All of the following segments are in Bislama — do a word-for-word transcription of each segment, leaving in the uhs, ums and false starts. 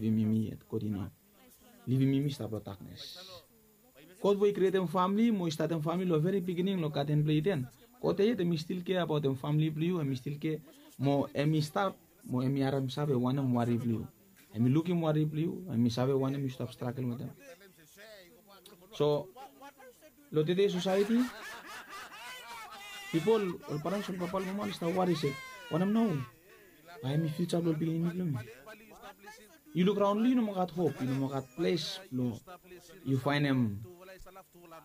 Livim yumi yet, God i no livim yumi stap long daknes. God we i krietem famili mo i statem famili long veri pikinini long gaden blong Iden, God yet hem i stil kea abaotem famili blong yu, hem i stil kea mo hem i stap mo hem i harem save wanem wari blong yu. Hem i lukim wari blong yu, hem i save wanem yu stap stragel wetem. So long tede sosaeti, pipol, ol parents, ol papa, ol mama oli stap wari se wanem nao, bae hem i fiuja blong ol pikinini blong mi. Yu luk raon long yu, yu no moa gat hop, yu no moa gat ples blong yu faenem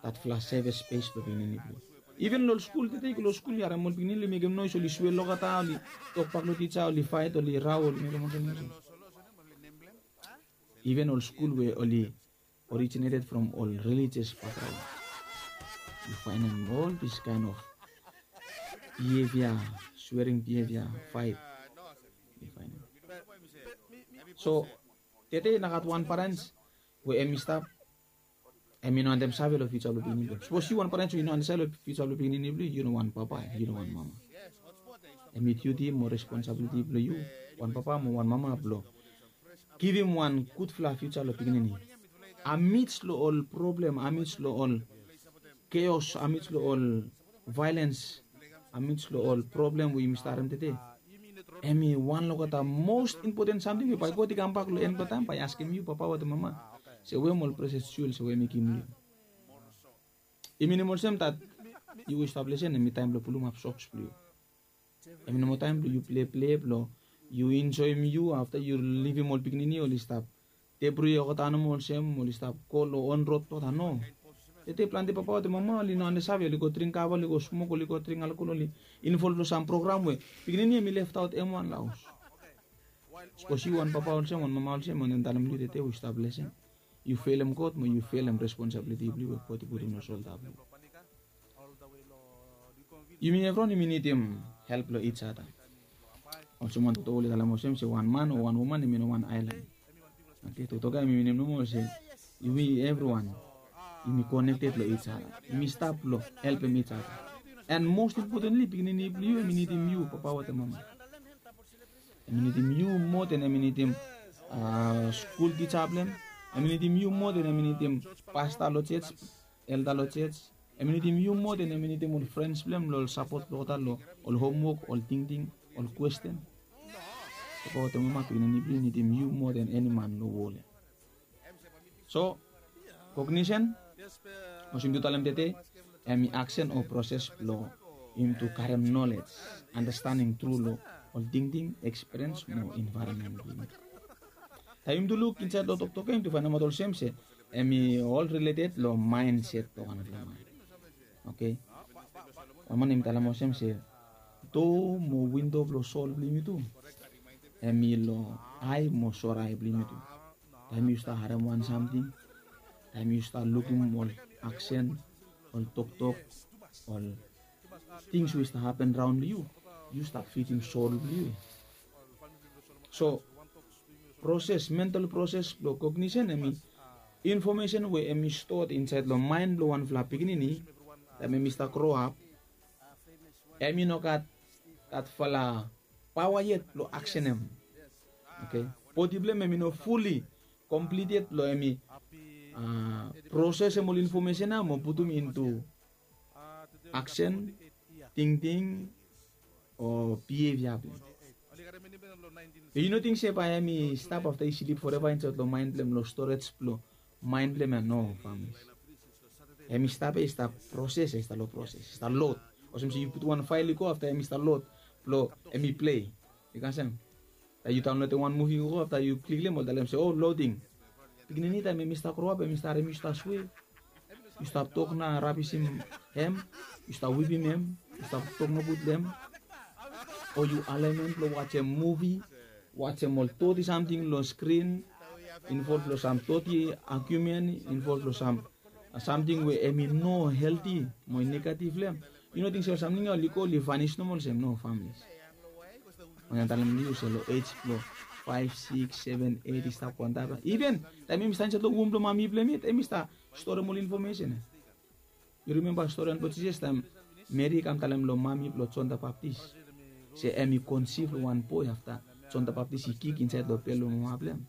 datfala sevis spes blong pikinini blong yu. Iven long skul tede, yu go long skul yu harem ol pikinini oli mekem noes, oli swel olgeta, oli tokbak long tija, oli faet, oli rao, oli mekem olsem olsem. Iven ol skul we oli originated from ol religious background, yu faenem ol this kind of behavior, swearing behavior, fight. Yu faenem. So tede i no gat wan parents we hem i stap, hem i no wantem save long fiuja blong pikinini blong hem. Sapos yu wan parents we yu no wantem save long fiuja blong pikinini blong yu, yu no wan papa, yu no wan mama. Hem i duti mo responsabiliti blong yu wan papa mo wan mama blong givim wan gudfala fiuja long pikinini. Amidst long ol problem, amidst long ol chaos, amidst long ol violence, amidst long ol problem we yumi stap harem tede, hem i wan long olgeta most important samting we bae God i kambak long en blong taem bae i askem yu papa wetem mama se wetem ol precious jewel se we hem i givim long yu. I minim olsem dat yu we yu stap lesen, hem i taem blong pulumap soks blong yu. Hem i no moa taem blong yu pleple blong yu enjoem yu afta yu livim ol pikinini oli stap debri olgeta nomo olsem oli stap go long on rod olgeta, no. Tede plante papa wetem mama oli no wantem save, oli go dring kava, oli go smok, oli go dring alkol, oli involv long sam program we pikinini hem i leftaot hem wan long haos. Sapos yu wan papa olsem, wan mama olsem, mi wantem talem long yu tede we yu stap lesen, yu felem God mo yu felem responsabiliti blong yu we God i putum long solda blong yu. Yumi evriwan yumi nidim help long each other. Olsem wan toktok oli talem olsem se wan man o wan woman hem i no wan aelan. Oke, toktok ya hem i minim nomo se yumi evriwan yumi connected long each other. Yumi stap long helpem each other. And most importantly, pikinini blong yu hem i nidim yu papa wetem mama. Hem i nidim yu moa den hem i nidim skul tija blong hem. Hem i nidim yu moa den hem i nidim pasta long jej, elda long jej. Hem i nidim yu moa den hem i nidim ol frens blong hem long ol sapot blong olgeta long ol homwok, ol tingting, ol kwesten. Papa wetem mama, pikinini blong yu i nidim yu moa den eni man long wol ya. So kognisen, olsem yumi tu talem tede, hem i aksen o proses blong yumi tu karem nolej, andastaning tru long ol tingting, ekspiriens mo envaeronmen blong yumi. Taem yumi tu luk insaed long toktok ya yumi tu faenemaot olsem se hem i ol rileted long maenset blong wanfala man. Oke. Wan man hem i talem olsem se doa mo windo blong sol blong yumi tu hem i long ae mo sore ae blong yumi tu. Taem yu stap harem wan samting, taem yu stap lukim ol aksen, ol toktok, ol tings we i stap hapen raon long yu, yu stap fidim sol blong yu. So proses, mental proses blong kognisen hem i infomesen we hem i stoa insaed long maen blong wanfala pikinini taem hem i stap groap. Hem i no gat datfala paoa yet blong aksenem. Oke. Bodi blong hem hem i no fuli komplit yet blong hem i prosesem ol infomesen ya mo putum intu aksen, tingting o bihevia blong hem. Be yu no ting se bae hem i stap afta i slip foreva insaed long maen blong hem, long storej blong maen blong hem ya? No, famili. Hem i stap ya, i stap proses ya, i stap long proses, i stap lod. Olsem se yu putum wan fael i go, afta hem i stap lod blong hem i plei. Yu kasem? Taem yu daonlodem wan muvi i go, afta yu klik long hem oli talem se, o, loding. Pikinini taem hem i stap groap hem i stap harem yu stap swe, yu stap tok na rabisim hem, yu stap wipim hem, yu stap tok nogud long hem, o yu alem hem blong wajem muvi, wajem ol doti samting long skrin, involv long sam doti agiumen, involv long sam samting we hem i no helti mo i negativ long hem. Yu no ting se ol samting ya oli go oli vanis nomo olsem? No, famili. Mi wantem talem long yu se long ej blong faef, sikis, seven, eit i stap go antap ya. Iven taem hem i stap insaed long wom blong mami blong hem yet hem i stap storem ol infomesen ya. Yu rimemba storian blong Jisas taem Meri i kam talem long mami blong Jon the Baptist se hem i konsiv long wan boe afta Jon the Baptist i kik insaed long bel blong mama blong hem?